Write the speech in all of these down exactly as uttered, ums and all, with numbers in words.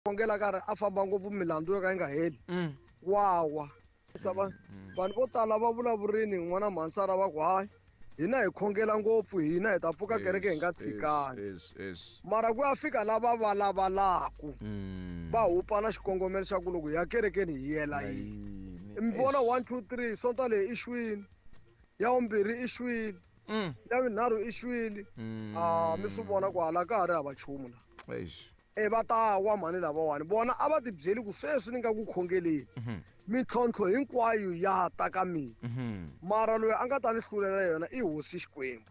Khongela karhi a famba ngopfu milandzu yo ka yi nga heli wawa vanhu vo tala va vulavurini n'wana mhansara va ku hayi hina hi khongela ngopfu hina hi ta pfuka kereke hi nga tshikani mara ku ya fika lava va lavalaku va hupa na xikongomelo xa ku loko hi ya kerekeni hi yela yini mi vona one two three sonta leyi i xwini ya vumbirhi i xwile ya vunharhu i xwile a mi swi vona ku hala ka ha ri hava nchumu la e va ta wa mhani lavawani vona a va ti byeli ku sweswi ni nga ku khongeleni mintlhontlho hinkwayo ya ta ka mina mara loyi a nga ta ni hlulela yona i hosi Xikwembu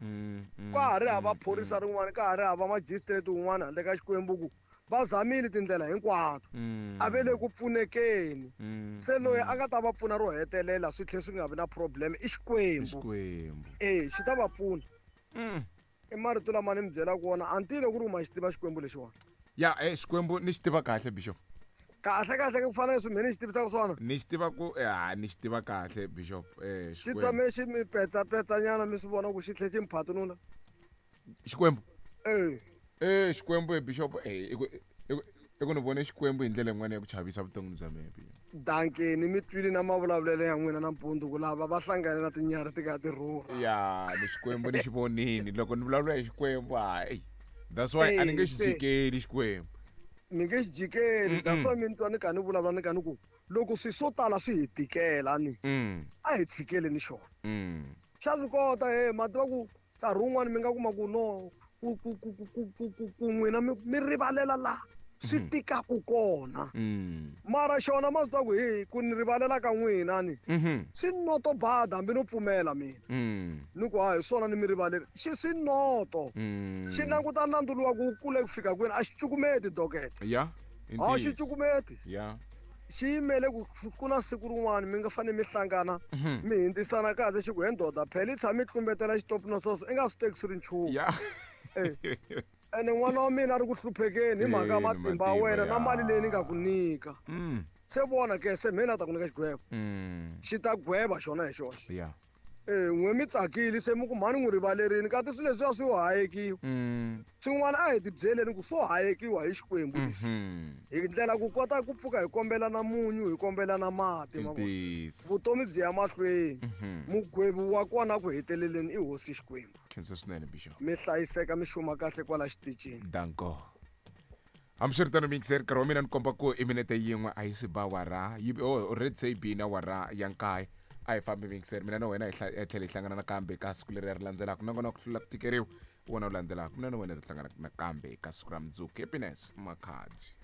ka ha ri hava phorisa rin'wana ka ha ri hava magistrate wun'wana handle ka Xikwembu ku va zamile tindlela hinkwato a ve le ku pfunekeni se loyi a nga ta va pfuna ro hetelela swi tlhela swi nga vi na problem i Xikwembu e xi ta va pfuna i marito lama ni mi byelaka wona a ni tivi ku ri u ma xi tiva Xikwembu lexiwani. Ya eh Xikwembu ni xi tiva kahle Bishop. Kahle kahle ku fana leswi mina ni xi tivisaka swona. Ni xi tiva ku ha ni xi tiva kahle Bishop eh Xikwembu. Xi tshame xi mi petsa petsa nyana mi swi vona ku xi tlhe xi mi phatunula. Xikwembu. Eh. Eh Xikwembu Bishop eh i ku i ku ni vone Xikwembu hi ndlela yin'wana ya ku chavisa vuton'wini bya mina Bishop. Dankeni mi twile na mavulavulelo ya n'wina nampundzu ku lava va hlangane na tinyarhi ti ka ti rhurha. Ya ni Xikwembu ni xi vonini loko ni vulavula hi Xikwembu hayi. That's why a ni nge xi jikeli Xikwembu. Mi nge xi jikeli that's why mi ni twa ni kha ni vulavula ni kha ni ku loko swi swo tala swi hi tikela ni a hi tshikeleni xona. Xa swi kota he ma tiva ku nkarhi wun'wani mi nga kuma ku no ku ku ku ku ku ku ku ku n'wina mi mi rivalela la swi tikaku kona mara xona ma swi tiva ku hi ku ni rivalela ka n'wina ni swi noto bada hambi no pfumela mina ni ku ha hi swona ni mi rivalela xi swi noto xi languta nandzu luwa ku wu kule ku fika kwini a xi cukumeti dokete ya a xi cukumeti ya xi yimele ku ku na siku rin'wana mi nga fanele mi hlangana mi hindzisana kahle xi ku he ndoda phela i tshame i tlumbetela xitofu na sweswo i nga swi teki swi ri nchumu ya ene n'wana wa mina a ri ku hluphekeni hi mhaka ya matimba ya wena na mali leyi ni nga ku nyika se vona ke se mhe na ta ku nyika xigwevo xi ta gweva xona hi xoxe ya e n'we mi tsakile se mi ku mhani n'wi rivalerini kasi swilo leswiya swi yo hayekiwa swin'wana a hi ti byeleni ku swo hayekiwa hi Xikwembu leswi hi ndlela ku kota ku pfuka hi kombela na munyu hi kombela na mati ma vona vutomi byi ya mahlweni mugwevi wa kona ku heteleleni i hosi Xikwembu. Khensa swinene Bishop. Mi hlayiseka mi xuma kahle kwala xitichini. Danko. Hambiswiritano mixer nkarhi wa mina ni komba ku i minete yin'we a yi si ba wara yi oh, already se yi bini awara ya nkaye a hi fambi mixer mina na wena hi tlhela hi hlangana nakambe ka siku leri ri landzelaka nakona ku hlula ku tikeriwa wona wu landzelaka mina na wena hi hlangana nakambe ka siku ra mundzuku. Happiness Makhadzi.